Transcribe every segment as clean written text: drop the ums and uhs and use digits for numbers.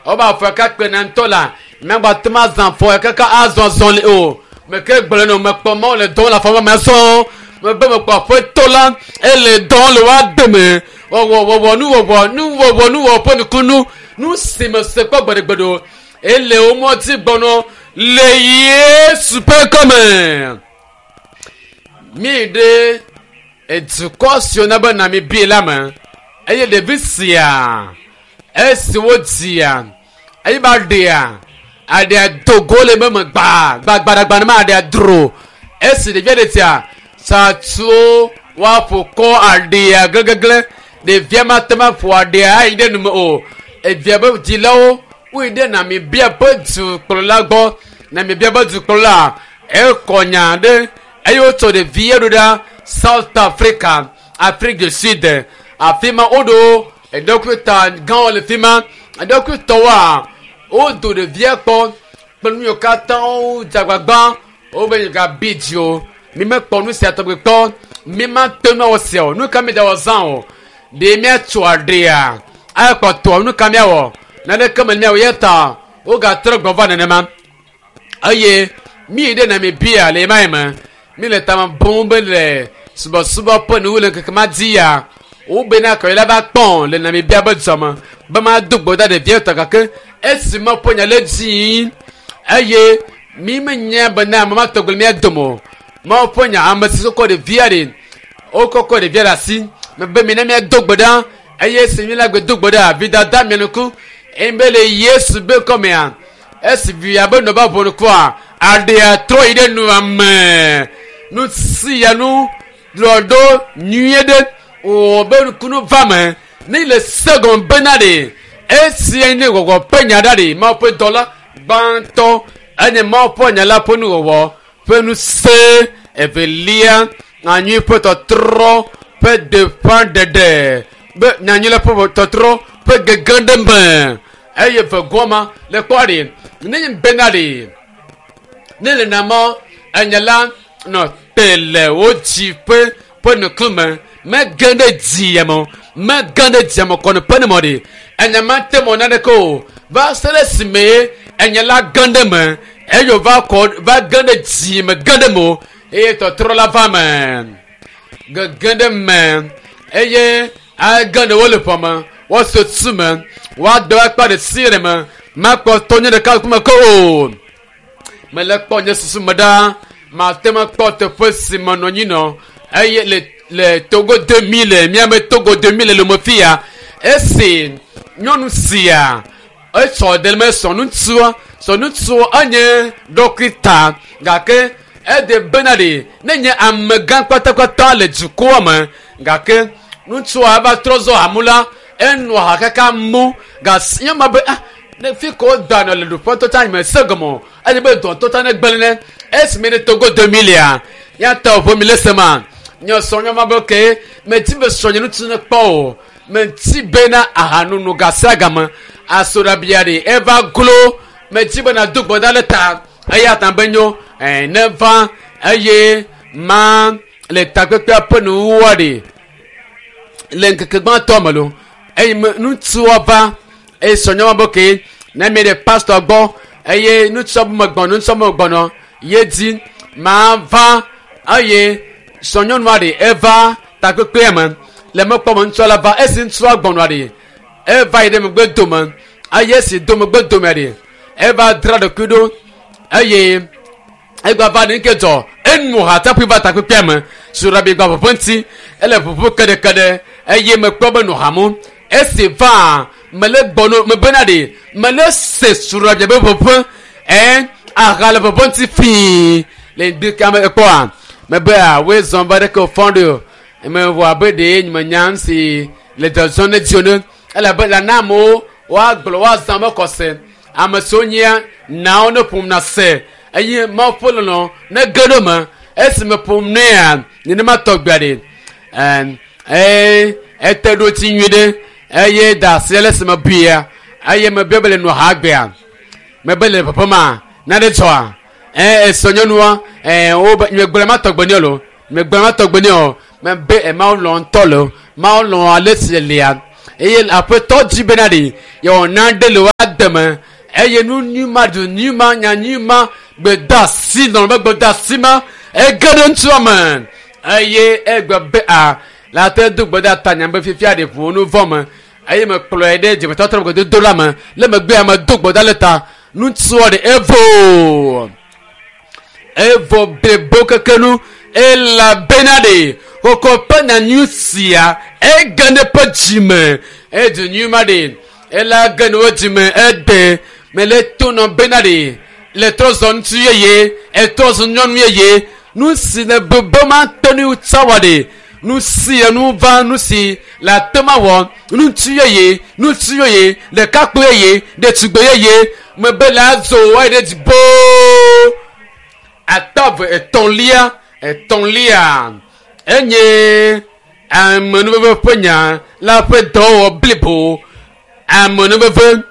Wobe afɔ ka kpena ŋutɔ la, míagbate ŋu azã afɔ kaka azɔ azɔli o. Meke gblɔe nɔ mekpɔ Mawu le dɔ le afɔ me zɔ. Mebe mekpɔ aƒetɔ la ele dɔ le woa dome. Wɔwɔ wɔwɔ nuwɔwɔ nuwɔwɔ nuwɔwɔ ƒe nukunu nu si me se kpɔ gbeɖegbeɖe o. Ele wo mɔdzi gbɔnɔ le Yesu ƒe ŋkɔme. Mi ɖe edukɔ siwo na be Namibia la me eye ɖevi sia esi wodzia eye ba ɖea aɖea dogo le me gba gbagbadagba ne ma aɖea dro esi ɖevia ɖe tia satsuwo woaƒo kɔ aɖea gleglegle ɖevia ma te ma ƒo aɖea ayi ɖe nume o evia be dzilawo woyi ɖe Namibia ƒe dukplɔla gbɔ Namibia ƒe dukplɔla ekɔ nya ɖe eye wotsɔ ɖevia ɖo ɖa South Africa Afrique du Sud afi ma woɖo eɖɔkita gãwo le fi ma eɖɔkitɔwoa wodo ɖevia kpɔ kple nu yiwo katã wodze agbagba wobe yi gabi dzi o mi mekpɔ nu sia tɔgbi kpɔ mi mate ŋu awɔ sia o nu ka mi da wɔ zã o ɖe miatso aɖea ayakpɔtɔ nu ka miawɔ naneke me miawɔ ya ta wogatrɔ gbɔ va nenema eye mi ɖe Namibia le ema yi me mi le tame bum be le subɔsubɔ ƒe nuwu le ŋkeke ma dzi ya wobena kɔyi la va kpɔn le Namibia be dzɔme be ma do gbe ɖa ɖevia tɔ gake esi me ƒe nya le dzi eye mi menya bena ame ma tɔgbe le mía dome o mawu ƒe nya ame si kɔ ɖevia ɖe wokɔkɔ ɖevia ɖe asi mebe mi ne míado gbe ɖa eye esi mi la gbe do gbe ɖa vidada mia nuku eye be le Yesu be kɔmea esi via be nɔ ba ʋɔ nukua aɖea trɔ yi ɖe nua me nu sia nu lɔ ɖo nyuie ɖe wò be nukunu va me ne le segɔn bena ɖe esia nye gbɔgbɔ ƒe nya ɖa ɖe Mawu ƒe dɔla gbãtɔ enye Mawu ƒe nya la ƒe nuwɔwɔ ƒe ŋusẽ evelia nyanyui ƒe tɔtrɔ ƒe gbeƒãɖeɖe be nyanyui la ƒe tɔtrɔ ƒe gege ɖe me eye vegoa ma le kpɔ ɖe ne nye bena ɖe ne le namɔ enya la nɔ te le wo dzi ƒe ƒe nukume mege ɖe dzia me o mege ɖe dzia me kɔni ƒe ne mɔ ɖe enya ma te mɔ naneke o va se ɖe esime enya la ge ɖe me eye wòva kɔ va ge ɖe dzi me ge ɖe me o eye tɔtrɔ la va me gege ɖe me eye age ɖe wo le ƒeme woase tu me woado akpa ɖe si ɖe me makpɔ tɔ nye ɖeka ŋkume ke o mele kpɔ nye susu me ɖa mate ŋu akpɔ teƒe si me nɔ anyi nɔ eye le le Togo 2000 miame Togo 2000 le me fia esi nyɔnu sia esɔ ɖe me sɔ ŋutsua sɔ ŋutsua enye ɖɔkita gake ede bena ɖe ne nye amegã kpatakpata le dukɔa me gake ŋutsua eva trɔ zɔ hamu la enɔ ha kaka mu gasi nye ma be ah ne fi ko da nɔ le ɖuƒe tɔtsa me se gɔme o eye be dɔ tɔtsa ne gblẽ ne esime ne Togo 2000 ya míatɔ ʋe mi le se ma nye sɔ nye ma be ke meti be sɔ nye ŋutsu ne kpɔ o meti bena ahanunu gasia game asoɖabia ɖe eva glo meti bena do gbɔda le ta eya ta be nyo ɛ ne va eye ma le takpekpea ƒe nuwuwua ɖe le ŋkeke gbãtɔ me lo eye me ŋutsua va eye sɔnyɔma be ke ne mi ɖe pastor gbɔ eye ŋutsua be megbɔnɔ ŋutsua be megbɔnɔ ye dzi ma va eye sɔnyɔnua ɖe eva takpekpea me le mekpɔ me ŋutsua la va esi ŋutsua gbɔnɔa ɖe eva yi ɖe megbe dome eye esi do megbe dome ɖe eva dzra ɖokui ɖo eye egba va ɖe nke dzɔ enu ha tsaƒui va takpekpea me surabi gba ʋuʋu ŋuti ele ʋuʋu keɖekeɖe eye mekpɔ be nɔ hamu esi va mele gbɔnɔ mebena ɖe mele se surabi be ʋuʋu ɛ aha le ʋuʋu ŋuti fii le ŋdi kame ekpɔa mebe woe zɔn va ɖeke wòfɔn ɖe o mewɔ abe ɖe menya si le dzɔdzɔm ne dzo ne elabe la na amewo woagblɔ woazã me kɔse ame siwo nyia nawo ne ƒom na se eye mawu ƒe lɔlɔ ne ge ɖe me esime ƒom nea nenema tɔgbea ɖe ɛn eye ete ɖo dzi nyui ɖe eye da asi le esime buia eye mebia be le nɔ ha gbea mebe le ƒeƒe ma nane dzɔa ɛ esɔ nyɔnua ɛ wo be megblɔ ma tɔgbe nɛ lo megblɔ ma tɔgbe nɛ o mebe ɛ mawu lɔ ŋutɔ lo mawu lɔ ale si lia eye aƒetɔ dzi bena ɖe yewɔ na ɖe le wa. deme eye nu nyui ma du nyui ma nya nyui ma gbedeasi nɔnɔ be gbedeasi ma ege ɖe ŋutsua me eye egbe be a la te do gbe ɖe ta nya be fifia ɖe ʋu nu vɔ me eye me kplɔe ɖe dzimetɔtrɔ gbedodo la me le megbea me do gbe ɖa le ta ŋutsua ɖe evo evo blibo keke nu elabena ɖe kɔkɔ ƒe nyanyui sia ege ɖe ƒe dzime edu nyui ma ɖe ela ge ɖe wo dzime ede mele to nɔ bena ɖe le trɔ zɔ ŋutsu yeye etrɔ zɔ nyɔnu yeye nu si le bebe ma te nu tsawa ɖe nu si enu va nu si le ate ma wɔ ŋutsu yeye ŋutsu yeye ɖekakpui yeye ɖetugbe yeye mebe le azo eyi ɖe dzi boo atave etɔ̃lia etɔ̃lia enye amenuveve ƒe nya la ƒe dɔwɔwɔ blibo amenuveve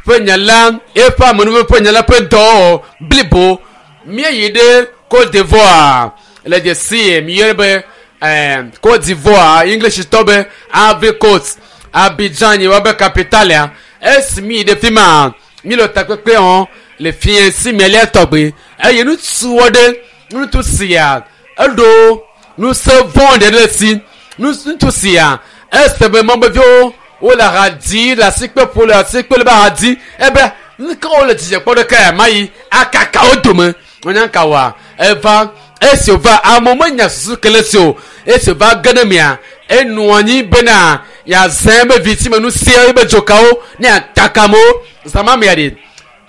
ƒe nya la eƒe amenuveve ƒe nya la ƒe dɔwɔwɔ blibo míeyi ɖe Cote d'Ivoire le dzesi miyɔe be ɛɛ Cote d'Ivoire English tɔ be Ivory Coast Abidjan yi woabe capitalia esi mi yi ɖe fi ma mi le takpekpe wɔm le fiẽ si melia tɔgbe eye ŋutsu aɖe ŋutsu sia eɖo ŋusẽ vɔ̃ ɖe ɖe si ŋutsu sia ese be mɔmeviwo wole ha dzi le asikpe ƒo le asikpe le be ha dzi ebe nuke wole dzidzɔ kpɔ ɖeke ya ma yi akaka wo dome wonya ka wa eva esi wòva amewo menya susu ke le si o esi wòva ge ɖe mia enɔ anyi bena yeazã ebe vi si me nu sia ebe dzokawo ne yeakaka amewo zã mea ɖe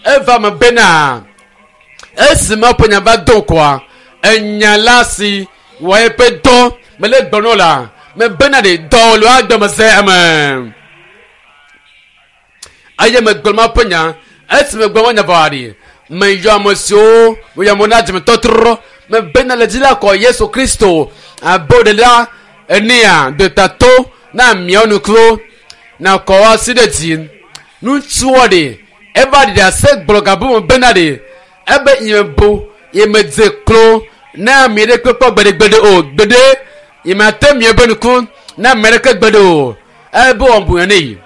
eva me bena esi me ƒe nya va do ŋkɔa enya la si wɔ eƒe dɔ mele gblɔ la mebena ɖe dɔ le woadɔme se eme eye megblɔ ma ƒe nya esi megblɔ ma nya vɔ ɖi meyɔ ame siwo meyɔ amewo na dzimetɔtrɔ mebena le dzi la kɔ Yesu Kristo abe ɖela enea detato na miawo nukuwo na kɔ wo asi ɖe dzi ŋutsuɔ ɖe eva ɖi ɖase gblɔ gabu me bena ɖe ebe nye bo ye medze klo na ame ɖe kpekpe gbeɖegbeɖe o gbeɖe ye mate miaƒe nuku na ame ɖeke gbeɖe o ebe wɔbu ne yi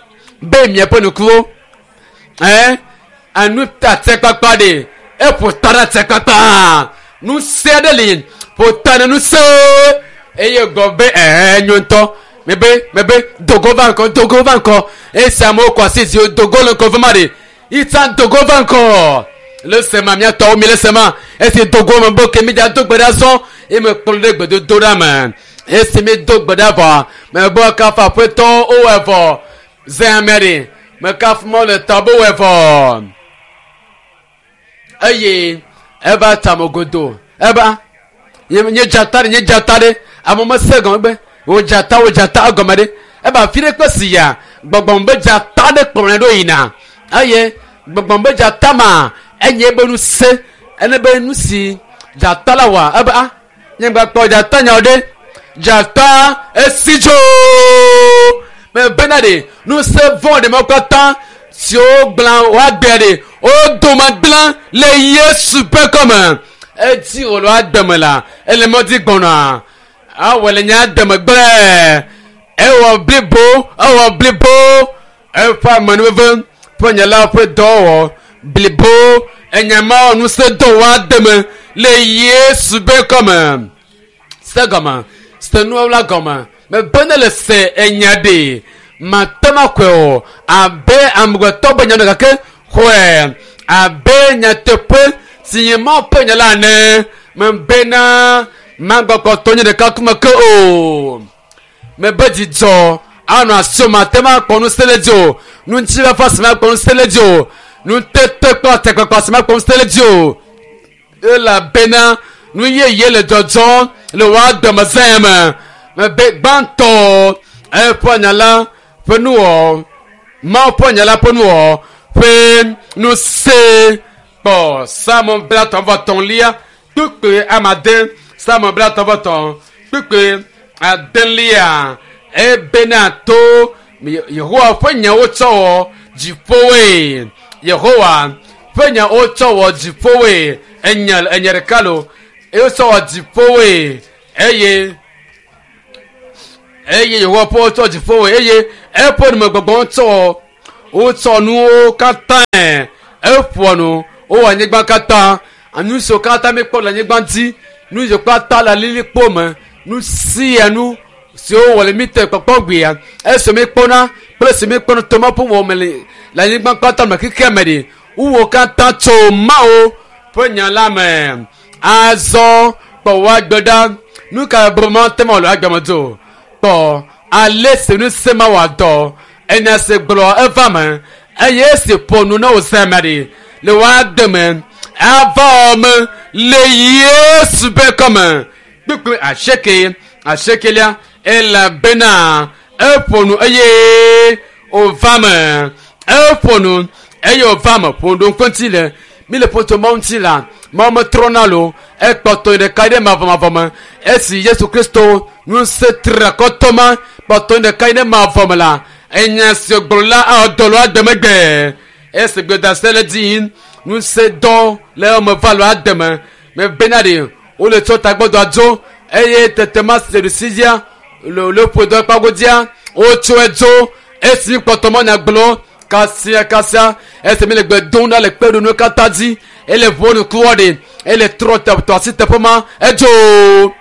be miaƒe nukuwo ɛɛ anu ta tsekpakpa ɖe eƒo ta ɖe tsekpakpa ŋusẽ aɖe li ƒo ta ɖe ŋusẽ eye gblɔ be ɛɛ nyo ŋutɔ mebe mebe dogo va ŋkɔ dogo va ŋkɔ esi amewo kɔ asi zi dogo le ŋkɔ vema ɖe itsa dogo va ŋkɔ le sema miatɔwo mi le sema esi dogo me bo ke mi dza do gbe ɖa zɔ eye me kplɔ ɖe gbedodo ɖa me esi mi do gbe ɖa vɔ mebe kafa aƒetɔ wowɔe vɔ zẽ amea ɖe mekafu mɔ le tɔ be wɔe vɔ eye eva tame godo eba nye dzata ɖe nye dzata ɖe ame mese gɔme be wo dzata wo dzata egɔme ɖe eba afi ɖe kpe si ya gbɔgbɔm be dzata ɖe kplɔe ɖo yina eye gbɔgbɔm be dzata ma enye be nu se ene be nu si dzata la wɔa ebe a nye gba kpɔ dzata nyawo ɖe dzata esi dzo mebena ɖe ŋusẽ vɔ̃ ɖe mawo katã siwo gblã woagbea ɖe wo dome gblã le Yesu ƒe kɔme edzi wòle woademe la ele mɔdzi gbɔna awɔ le nya deme gblẽ ewɔ blibo ewɔ blibo eƒe amenuveve ƒe nya la ƒe dɔwɔwɔ blibo enya ma wɔ ŋusẽ dɔ woademe le Yesu ƒe kɔme se gɔme se nuwo la gɔme mebe ne le se enya ɖe mate ma kɔe o abe amegbetɔ be nya gake xɔe abe nyateƒe si nye Mawu ƒe nya la ene mebena magbɔkpɔtɔ nye ɖeka kuma ke o mebe dzidzɔ anɔ asiwò mate ma kpɔ ŋusẽ le dzi o ŋutifafa si makpɔ ŋusẽ le dzi o nutete kple atekpakpa si makpɔ ŋusẽ le dzi o elabena nu yeye le dzɔdzɔm le wò agbemezã me mebe gbãtɔ eƒe nya la ƒe nuwɔ Mawu ƒe nya la ƒe nuwɔ ƒe ŋusẽ kpɔ Psalmo blatɔ̃ vɔ etɔ̃lia kpukpui amade Psalmo blatɔ̃ vɔ etɔ̃ kpukpui adelia ebena to Yehowa ƒe nyawo tsɔ wɔ dziƒowoe Yehowa ƒe nyawo tsɔ wɔ dziƒowoe enya enya ɖeka lo eye tsɔ wɔ dziƒowoe eye eye Yehowa ƒe tsɔ dziƒowoe eye eƒe numegbɔgbɔ tsɔ wɔ Wotsɔ nuwo katã eƒoa nu wowɔ anyigba katã. Nu siwo katã míekpɔ le anyigba dzi, nu siwo katã le alilikpo me, nu sia nu siwo wɔ le mí te kpɔkpɔ gbea, esi míekpɔna kple esi míekpɔna to Mawu ƒe wɔwɔme le le anyigba katã me xexea me ɖi. Nuwo katã tso Mawu ƒe nya la me. Azɔ kpɔ wò agbe ɖa. Nu ka be mate ŋu awɔ le agbe me dzo? Kpɔ ale si ŋusẽ ma wɔ dɔ. Enya si gblɔ eva me eye esi ƒo nu na wò zã me ɖi le wò agbe me ava me le Yesu ƒe kɔme. Kpukpui 8 asiekelia elabena eƒo nu eye wòva me. Eƒo nu eye wòva me. Ƒo nu ɖo ŋku ŋuti le mi le ƒoto Mawu ŋuti la, Mawu metrɔna lo. Ekpɔtɔ ɖeka ɖe mavɔmavɔ me. Esi Yesu Kristo ŋusẽ triakɔtɔ ma kpɔtɔ ɖeka ɖe mavɔ me la, enya si wògblɔ la awɔ dɔ le agbe megbe. Esi gbedase le dzi yim, ŋusẽ dɔ le eme va le agbe me. Mebena ɖe wole tsɔ tagbɔdɔ dzo eye tete ma si le ɖusi dzia le le ƒo dɔ kpago dzia wotsɔe dzo esi kpɔtɔ mɔ nya gblɔ kasia kasia esi mi le gbe dom ɖa le kpe ɖo nu katã dzi ele ʋuɔ nukuwɔ ɖe ele trɔ te tɔ asi teƒe ma edzo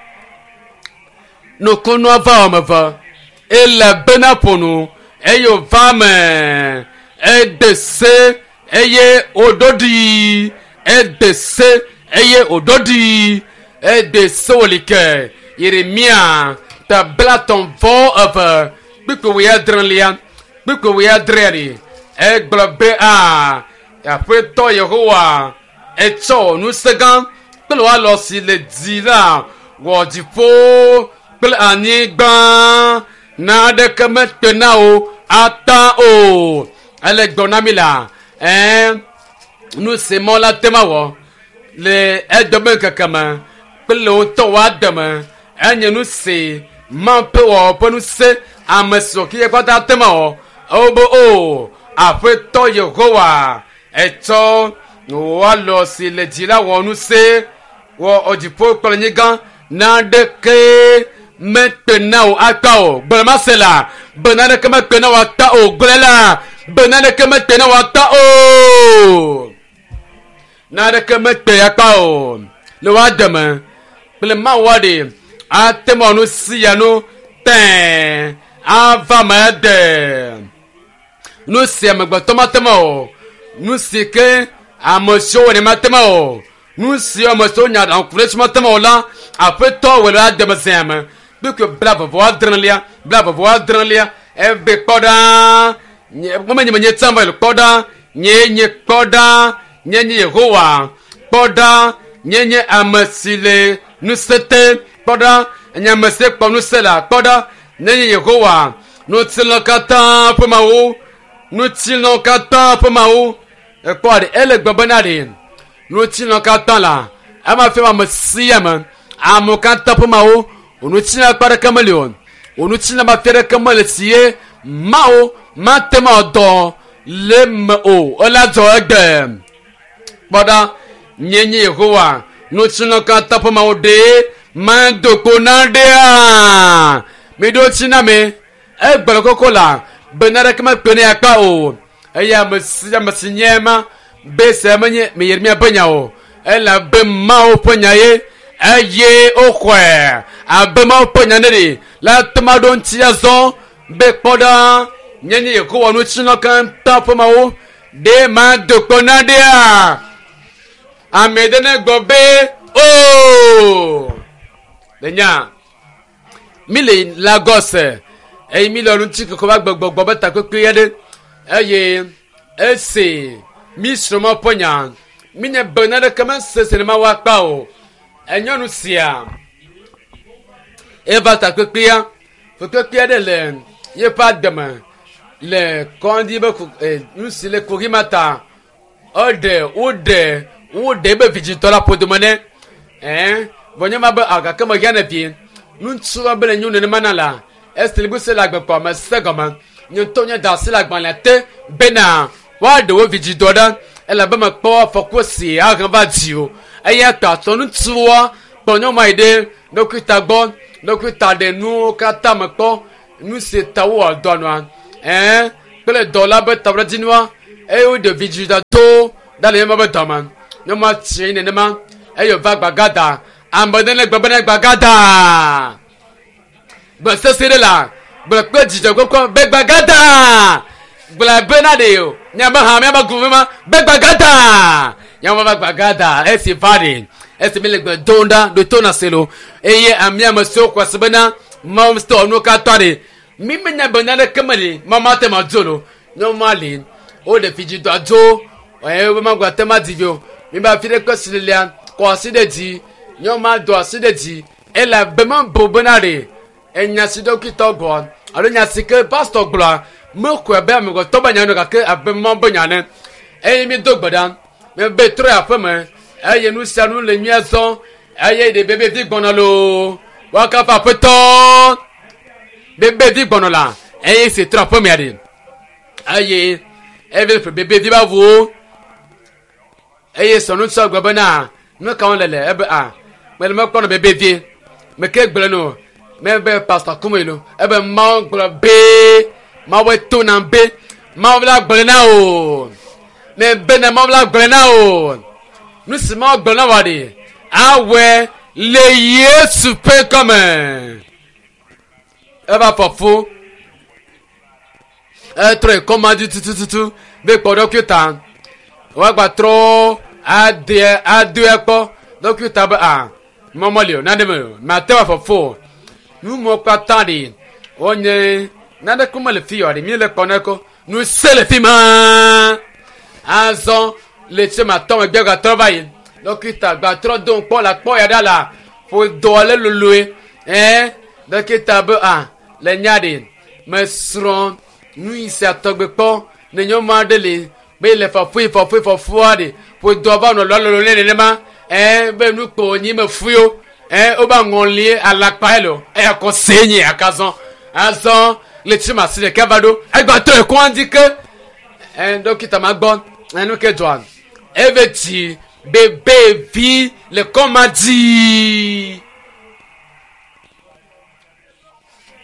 nukunua va wɔme eve ele bena ƒo nu eye wòva me ede se eye wòɖo ɖi ede se eye wòɖo ɖi ede se wòli ke Yeremia ta 32 kpukpui 9 kpukpui 8 ɖi egblɔ be a Aƒetɔ Yehowa etsɔ ŋusẽ gã kple wò alɔ si le dzi la wɔ dziƒo kple anyigba naneke mekpe na wò ata o. Ele gblɔ na mi la ɛɛ nu si mɔ la te ma wɔ le edome ŋkeke me kple le wo ŋutɔ wò agbe me enye nu si Mawu ƒe wɔwɔ ƒe ŋusẽ ame siwo ke kpata te ma wɔ. Ewo be o Aƒetɔ Yehowa etsɔ wò alɔ si le dzi la wɔ ŋusẽ wɔ dziƒo kple anyigba naneke mekpe na wò akpa o. Gblɔ ma se la be naneke mekpe na wò akpa o. Gblɔe la be naneke mekpe na wò akpa o. Naneke mekpe akpa o le wò agbe me kple Mawu aɖe ate ŋu awɔ nu sia nu tẽe ava me de. Nu si amegbetɔ mate ŋu awɔ, nu si ke ame siwo wɔnɛ mate ŋu awɔ, nu si ame siwo nya aɖaŋu ku ɖe edzi mate ŋu awɔ la, Aƒetɔ wɔe le agbe me zã me. Kpukpui 36 36 ebe kpɔ ɖa nye menye menye tsã va yi kpɔ ɖa nye nye kpɔ ɖa nye nye Yehowa kpɔ ɖa nye nye ame si le ŋusẽ te kpɔ ɖa nye ame si kpɔ ŋusẽ la kpɔ ɖa nye nye Yehowa ŋutilã katã ƒe Mawu ŋutilã katã ƒe Mawu ekpɔ ɖe ele gbe bena ɖe ŋutilã katã la ema fia ame sia ame amewo katã ƒe Mawu ŋutilã akpa ɖeke meli o ŋutilã ma fia ɖeke mele si ye Mawu mate ŋu awɔ dɔ le me o ele adzɔ egbe kpɔ ɖa nye nye Yehowa ŋutilã katã ƒe Mawu ɖe mado kpo na ɖea miɖo tsi na me egblɔ koko la be naneke mekpe ne akpa o eye ame sia ame si nye ema be se menye me Yeremia ƒe nya o elabe Mawu ƒe nya ye eye woxɔe abe Mawu ƒe nya ne ɖi la te ma ɖo ŋuti azɔ be kpɔ ɖa nye nye Yehowa ŋutilã katã ƒe Mawu ɖe mado kpo na ɖea ame ɖe ne gblɔ be o le nya mi le Lagos eye mi le ŋuti kɔkɔ va gbɔgbɔgbɔ be takpekpe aɖe eye esi mi srɔ̃ Mawu ƒe nya mi nye be naneke mesese ne Mawu akpa o enyɔnu sia eva takpekpea fukpekpe aɖe le yeƒe agbe me le kɔdzi be nu si le kuxi ma ta eɖe woɖe woɖe ebe vidzitɔ la ƒodome nɛ ɛɛ vɔ nye ma be gake mehiã ne vie ŋutsua be le nyo nenema na la esi le se le agbekpɔ me se gɔme nye ŋutɔ nye da asi le agbalẽa te bena woaɖe wo vidzidɔ ɖa elabe mekpɔ afɔku si ahe va dzi o eya ta tɔ ŋutsua kplɔ nyɔnua yi ɖe ɖokuita gbɔ ɖokuita ɖe nuwo katã me kpɔ nu si ta wowɔ dɔ nua ɛɛ. Kple dɔla be taɖodzinua eye woɖe vidzidɔ to ɖa le nyɔnua be dɔme. Nyɔnua tsi nenema eye wòva gbagada. Ame ɖe ne gblɔ bena gbagada. Gbe sesẽ ɖe la gblɔ kple dzidzɔ kpɔkpɔ be gbagada. Gblɔ bena ɖe o. Miabe hã miabe gume ma be gbagada. Nyɔnua va gbagada esi va ɖe esi mi le gbe dom ɖa ɖo to na se lo eye amea me siwo xɔ se bena Mawu ŋutɔ nuwo katã ɖe mi menya be naneke meli Mawu mate ma dzo lo nyɔnua li woɖe vidzidɔa dzo eye wobe magba te ma di vi o mi ba fi ɖe kpe si lelia kɔ asi ɖe dzi nyɔnua do asi ɖe dzi elabe mebu bena ɖe enya si ɖɔkitɔ gblɔ alo nya si ke pastɔ gblɔa mexɔe be amegbetɔ be nya no gake abe Mawu be nya ne eye mi do gbe ɖa mebe trɔ yi aƒe me eye nu sia nu le nyuie zɔ eye ɖe bebe vi gbɔna loo woakafu aƒetɔ bebe vi gbɔnɔ la eye si trɔ aƒe mea ɖe eye eve ƒe bebe vi ba ʋuwo eye sɔnutsɔ gblɔ bena nu ka wɔm le le ebe a mele mekpɔ nɔ bebe vie meke gblɔ no mebe pastor kume lo ebe Mawu gblɔ be Mawu to na be Mawu la gblɔ na o mebe na Mawu la gblɔ na o nu si Mawu gblɔ na wa ɖe awɔe le Yesu ƒe gɔme eva fɔfu etrɔ yi kɔma dzi tutututu be kpɔ ɖɔkita woagba trɔ ade adoe kpɔ ɖɔkita be a mɔmɔli o nane me o mate wa fɔfo o nu mɔ katã ɖi wonye naneke mele fi o ɖi mi le kpɔ ne ko nu se le fi ma azɔ le tse ma tɔ megbe gatrɔ va yi ɖɔkita gbatrɔ do kpɔ la kpɔ ya ɖa la ƒo dɔ le loloe ɛɛ ɖɔkita be a le nya ɖi mesrɔ̃ nu yi sia tɔgbe kpɔ ne nyɔnu aɖe li be le fɔfui fɔfui fɔfua ɖi ƒo dɔ va nɔ lɔlɔlɔ ne nenema ɛɛ be nu kpo nyi me fui o ɛɛ woba ŋɔli alakpa ye lo eya kɔ se nyi akazɔ azɔ le tsi ma si ɖeka va ɖo egba tɔ ekɔa dzi ke ɛɛ dɔkita ma gbɔ ɛnu ke dzɔa eve dzi bebe vi le kɔma dzi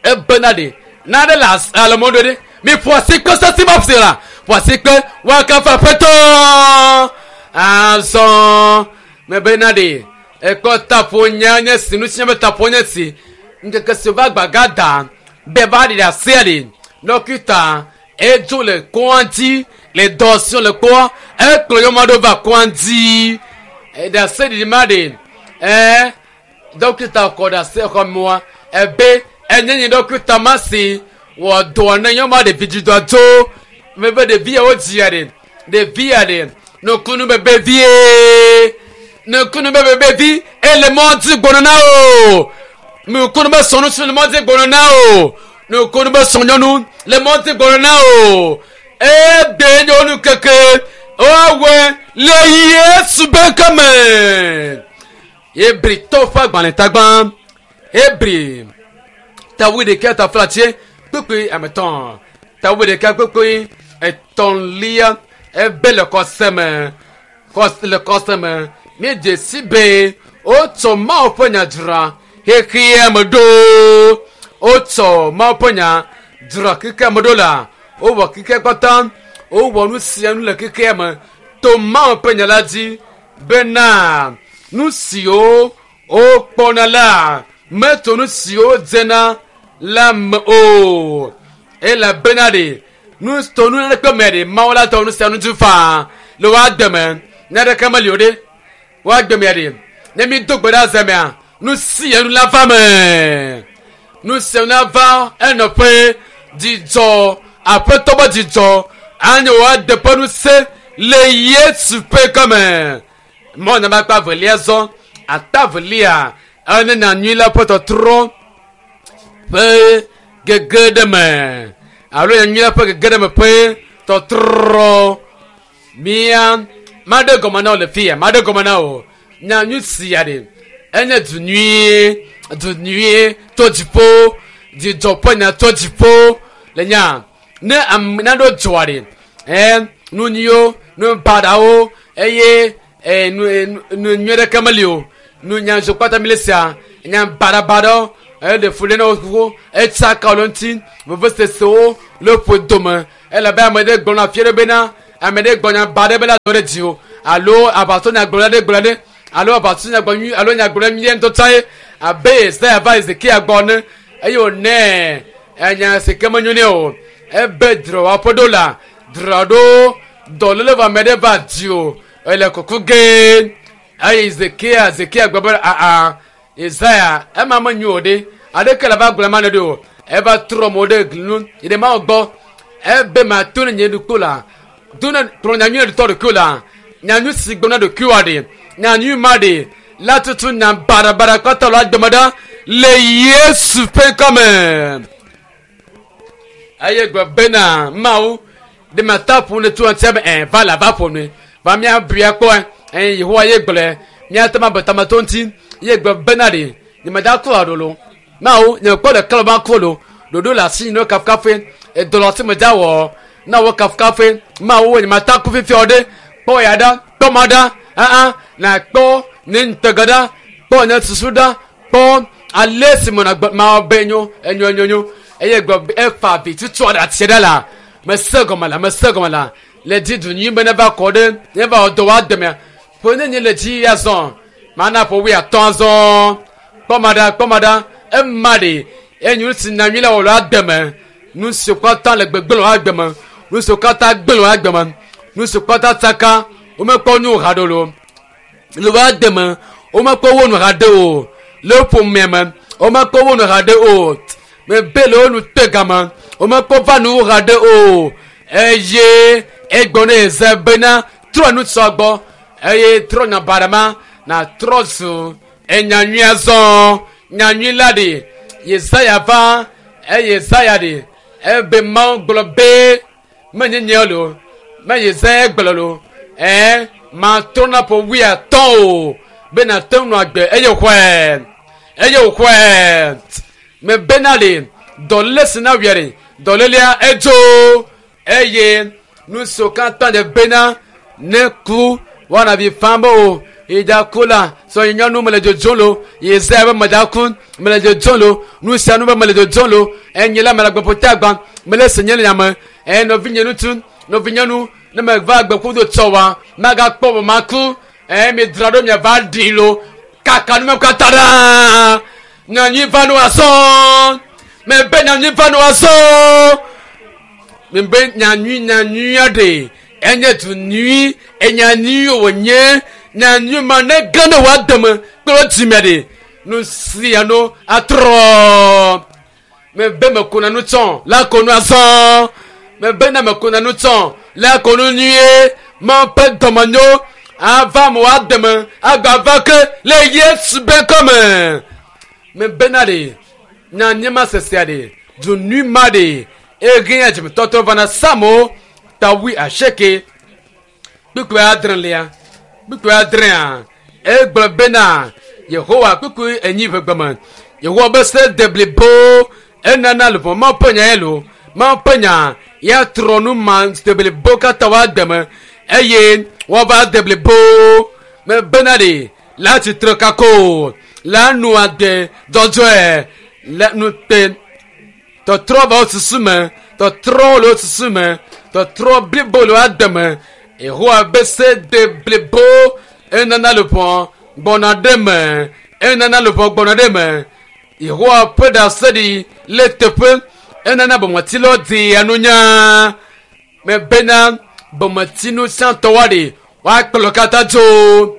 ebena ɖe naɖe le alɔmɔ ɖo ɖe mi ƒo asi kpe sesi ma ƒo la ƒo asi kpe woakafu aƒetɔ azɔ mebena ɖe ekpɔ taƒo nya nye si nu si nye be taƒo nye si ŋkeke si va gbaga da be va ɖi asia ɖe dɔkita edzo le kɔa dzi le dɔ si le kpɔa ekplɔ nyɔnu aɖewo va kɔa dzi eɖase ɖiɖi ma ɖe ɛɛ dɔkita kɔ ɖase xɔ mɔa ebe enye nye dɔkita ma si wɔ dɔ ne nyɔnua ɖevi dzi dɔ tso mebe ɖevi yawo dzia ɖe ɖevi ya ɖe nukunu bebe vie nukunu bebe bevi ele mɔ dzi gbɔnɔ na o nukunu be sɔnu le mɔ dzi gbɔnɔ na o nukunu be sɔnyɔnu le mɔ dzi gbɔnɔ na o ebe nyɔnu keke woawɔe le Yesu be kame Hebritɔwo ƒe agbalẽ tagbã Hebri tawu ɖeka taflatse kpekpe ametɔn tawu ɖeka kpekpe etɔ̃lia ebe le kɔse me kɔse le kɔse me míedze si be wotsɔ Mawu ƒe nya dzra xexea me ɖo wotsɔ Mawu ƒe nya dzra xexea me ɖo la wowɔ xexea katã wowɔ nu sia nu le xexea me to Mawu ƒe nya la dzi bena nu siwo wokpɔna la meto nu siwo dzena la me o elabena ɖe nu to nu ɖeke me ɖe Mawu la tɔ nu sia nu dzi faa le woa deme ne ɖeke meli o ɖe woa deme ɖe ne mi do gbe ɖa zemea nu sia nu la va me nu sia nu la va enɔƒe dzidzɔ aƒetɔ be dzidzɔ anye woa de ƒe nu se le Yesu ƒe gɔme mɔ nama kpa velia zɔ ata velia ene nya nyui la ƒe tɔtrɔ ƒe gege ɖe me alo nya nyui la ƒe gege ɖe me ƒe tɔtrɔ mia maɖe gɔme na wo le fia maɖe gɔme na wo nya nyui sia ɖe enye du nyuie du nyuie tso dziƒo dzidzɔ ƒe nya tso dziƒo le nya ne ame naɖo dzɔa ɖe ɛ nu nyuiwo nu baɖawo eye ɛ nu nu nyui ɖeke meli o nu nya nso kpata mi le sia nya baɖabaɖawo eɖe fu ɖe na wo xoxo etsaka wo le ŋuti vevesesewo le ƒo dome Elabe ame ɖe gblɔna fia ɖe bena ame ɖe gblɔ nya ba ɖe bena dɔ ɖe dzi o alo aʋatso nyagblɔɖi aɖe gblɔ ɖe alo aʋatso nyagblɔ nyui alo nyagblɔɖi nyui ŋutɔ tsã ye abe Yesaya va Hezekia gbɔ ene eye wònɛ enya si ke menyo nɛ o. Ebe dzra wò aƒe ɖo la, dzra ɖo dɔléle vɔ ame ɖe va dzi o ele kuku ge. Eye Hezekia Hezekia gblɔ be aa Yesaya ema menyo o ɖe aɖeke le va gblɔ ema ne ɖe o. Eva trɔ mo ɖe gli nu yi ɖe Mawu gbɔ. Ebe mato ne nye ɖokui la do ne kplɔ nyanyui ɖe tɔ ɖokui la nyanyui si gblɔ na ɖokuiwòa ɖe nyanyui ma ɖe la tutu nya baɖabaɖa kpata le agbeme ɖa le Yesu ƒe ŋkɔme. Eye gblɔ bena Mawu ɖe mata ƒo ne tso ŋutia be ɛ va la va ƒo nue va mía bui akpɔ ɛ Yehowa ye gblɔe míate ma be tameto ŋuti ye gblɔ bena ɖe nyemeda ku aɖo lo Mawu nye kpɔ ɖeke le ma ku lo ɖoɖo le asi ne kafukafue edɔ le asi me dza wɔ na wo kafukafue Mawu nye mata ku fifia ɖe kpɔ ya ɖa kpɔ ma ɖa aa na kpɔ nye ŋutega ɖa kpɔ nye susu ɖa kpɔ ale si me nagbe ma be nyo enyo enyo nyo eye gblɔ efa vi tutu aɖe atsi ɖe la mese gɔme la mese gɔme la le dzi du nyui be ne va kɔ ɖe ne va wɔ dɔ wa deme ƒe ne nye le dzi ya zɔ mana ƒo wui atɔ azɔ kpɔ ma ɖa kpɔ ma ɖa ema ɖe enyo si na nyui la wɔ le ademe nu si katã le gbegblẽ le agbeme nu si katã gblẽ le agbeme nu si katã tsaka womekpɔ nu haɖe o le wo ademe womekpɔ wo nu haɖe o le ƒomea me womekpɔ wo nu haɖe o mebe le wo nu te game womekpɔ va nu haɖe o eye egblɔ ne eze bena trɔ nu sɔ gbɔ eye trɔ nya baɖa ma na trɔ zu enyanyui azɔ nyanyui la ɖe Yesaya va eye Yesaya ɖe ebe Mawu gblɔ be menye nye lo me Yesaya gblɔ lo ɛɛ matrɔ na ƒo wuiatɔ̃ o be nàte ŋu nɔ agbe eye xɔe eye wòxɔe mebena le dɔléle si na wia ɖe dɔlélea edzo eye nu siwo katã ɖe bena ne ku woana vi fam be o yi da ku la sɔ yi nyɔnu mele dzodzom lo Yesaya be meda ku mele dzodzom lo nu sia nu be mele dzodzom lo enye la mele agbeƒote agba mele se nye le nyame eye nɔvinye ŋutsu nɔvinyɔnu ne meva agbeƒodo tsɔ wa magakpɔ be maku eye midzra ɖo miava ɖi lo kaka nu me katã ɖa nyanyui va nu azɔ mebe nyanyui va nu azɔ mebe nyanyui nyanyui aɖe enye du nyui enyanyui wònye nyanyui ma ne ge ne wòa deme kple dzime ɖe nu sia nu atrɔ mebe mekuna nu tsɔ la ko nu azɔ mebe ne mekuna nu tsɔ la ko nu nyuie ma ƒe dɔmenyo ava me wòa deme agba va ke le Yesu be ŋkɔme mebena ɖe nyanyui ma sesea ɖe du nyui ma ɖe ege dzimetɔtɔ vana samo ta wui asieke kpukpui adrelia kpukpui adrea egblɔ bena Yehowa kpukpui enyi ƒe gbeme Yehowa be se de blibo enana luʋɔ Mawu ƒe nya ye lo Mawu ƒe nya ya trɔ nu ma de blibo katã wa deme eye woava de blibo mebena ɖe la tsitre kako la nu ade dzɔdzɔe le nu te tɔtrɔ va wo susu me tɔtrɔ le wo susu me tɔtrɔ blibo le wo ademe Yehowa be se de blibo enana luʋɔ gbɔna ɖe me enana luʋɔ gbɔna ɖe me Yehowa ƒe ɖaseɖi le teƒe enana bometilawo dia nunya mebena bometinu sãtɔwoa ɖe woakplɔ katã tso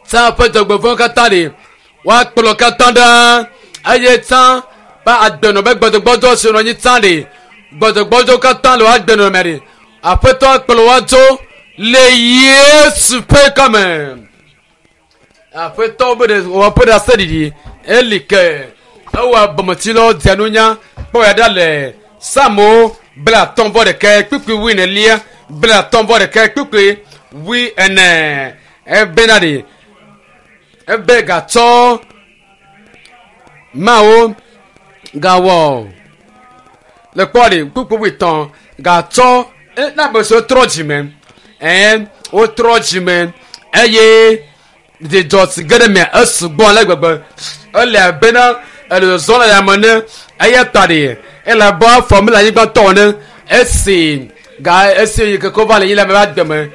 tsã ƒe dzɔgbevɔ̃ katã ɖe woakplɔ katã ɖa eye tsã be agbenɔ be gbɔdzɔgbɔdzɔ si nɔ anyi tsã ɖe gbɔdzɔgbɔdzɔ katã le woagbenɔ me ɖe aƒetɔ akplɔ woa tso le Yesu ƒe ŋkɔme aƒetɔ be ɖe wɔƒe ɖase ɖiɖi eli ke ewɔ bometilawo dia nunya kpɔ ya ɖa le Psalmo 35 kpukpui 24 31 kpukpui 40 ebena ɖe ebe gatsɔ mawo gawɔ le kpɔ ɖe kpukpui 5 gatsɔ na ame siwo trɔ dzime ɛɛ wotrɔ dzime eye dzidzɔ si ge ɖe mea esugbɔ ale gbegbe ele abena ele zɔzɔm le yame ne eya ta ɖe ele abe afɔ mele anyigba tɔ ene Esi ga esi yi ke ko va le yi le ame ƒe agbe me.